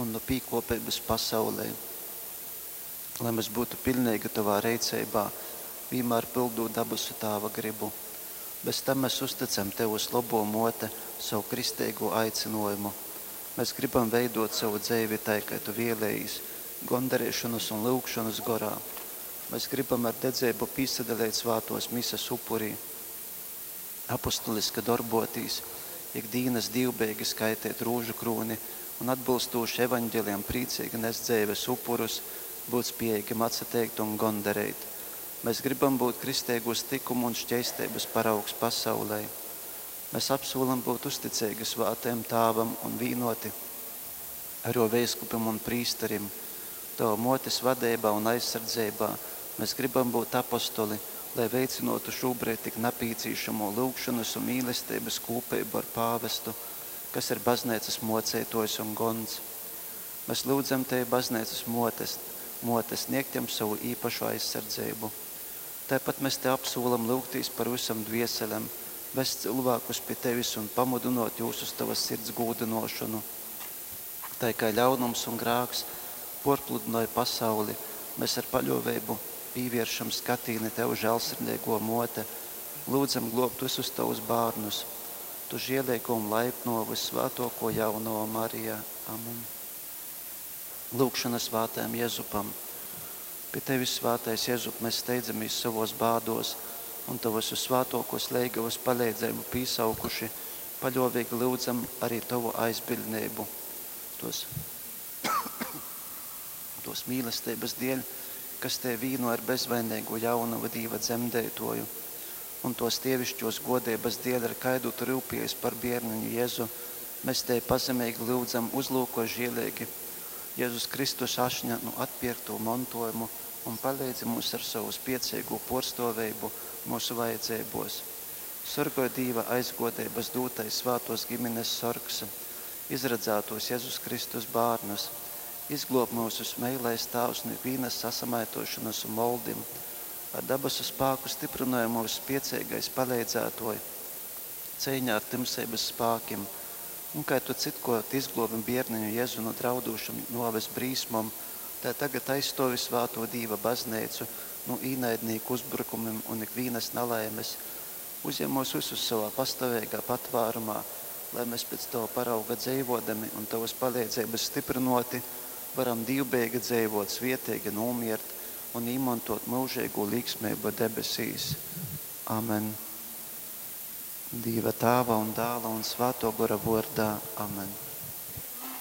un nu pīkōpeibas pasaulei. Lai mes būtu piļneigi Tovā reiceibā, vīnmār pyldūt dabasu Tāva grybu. Bez tam mes uztycam Tev vyslobō Mōte sovu kristeigū aicynōjumu. Mes grybam veidōt sovu dzeivi tai, kai Tu vēlējīs, gondareišonas un lyugšonas gorā. Mes grybam ar dedzeibu pīsadaleit svātōs Mises upurī, apostoliski dorbōtīs, ik dīnas dīvbejeigi skaiteit rūžukrūni un atbylstūši Evaņgelijam prīceigi nest dzeives upurus, būt spējeigim atsateikt un gondareit. Mes grybam būt kristeigūs tykumu un šķeisteibas paraugs pasaulei. Mes apsūlam būt uzticeigi Svātajam Tāvam un vīnoti ar jō veiskupim un prīsterim. Tova Mōtes vadeibā un aizsardzeibā mes grybam būt apostoli, lai veicynōtu šūbreid tik napīcīšamū lyugšonas un mīlesteibas kūpeibu ar pāvestu, kas ir Bazneicas mōceitōjs un gons. Mes lyudzam Tevi, Bazneicas Mōtes, Mōte, sniegt jam sovu īpašu aizsardzeibu. Taipat mes Tev apsūlam lyugtīs par vysom dvieselem, vest cylvākus pi Tevis un pamudynōt jūs uz Tovas sirds gūdynōšonu. Tai kai ļaunums un grāks pōrpludynoj pasauli, mes ar paļōveibu pīvieršam skatīni Tev, žālsirdeigō Mōte, lyudzam glōbt vysus Tovus bārnus. Tu žieleigō un laipnō, vyssvātōkō Jaunova Marija. Amen. Lūgšona svātajam Jezupam. Pi Tevis, svātais Jezup, mes steidzamīs sovōs bādōs un Tovas vyssvātōkōs leigavas paleidzeibu pīsaukuši, paļōveigi lyudzam ari Tovu aizbiļdneibu. Tos, tos mīlesteibas dēļ, kas Tevi vīno ar bezvaineigo jaunovu Dīva dzemdeitōju, un tos dievišķos godeibas dēļ, ar kaidu Tu ryupējies par bērniņu Jezu, mēs Tevi pazemeigi lyudzam, uzlūko žieleigi Jēzus Kristus ašņa nu atpierkto montojumu un paleidzi mums ar savu spiecīgo porstōveibu mūsu vajadzībos. Sorgoj Dīva aizgodeibas dūtais svātos ģimenes sorgs, izradzētos Jēzus Kristus bērnus, izglāb mūsus meilais Tāvs no ikvienas sasamaitošanas un moldim, ar dabasu spāku stiprināja mūsu spiecīgais paleidzētoj, cīņā ar timsības spākim, un kā tu citkort izglobi bērniņu Jēzu no draudūšam noves brīsmom, tā tagad aizstovi svāto Dīva baznīcu no īnaidnieku uzbrukumiem un ikvienas nelaimes, uzņem mūs visus savā pastāvīgā patvērumā, lai mēs pēc Tava parauga dzīvodami un Tavas palīdzības stiprinoti, varam dievbijīgi dzīvot, svietīgi nomirt un īmantot mūžīgo līksmību debesīs. Amen. Dieva Tāva un Dāla un Svēto Gora vārdā. Amen.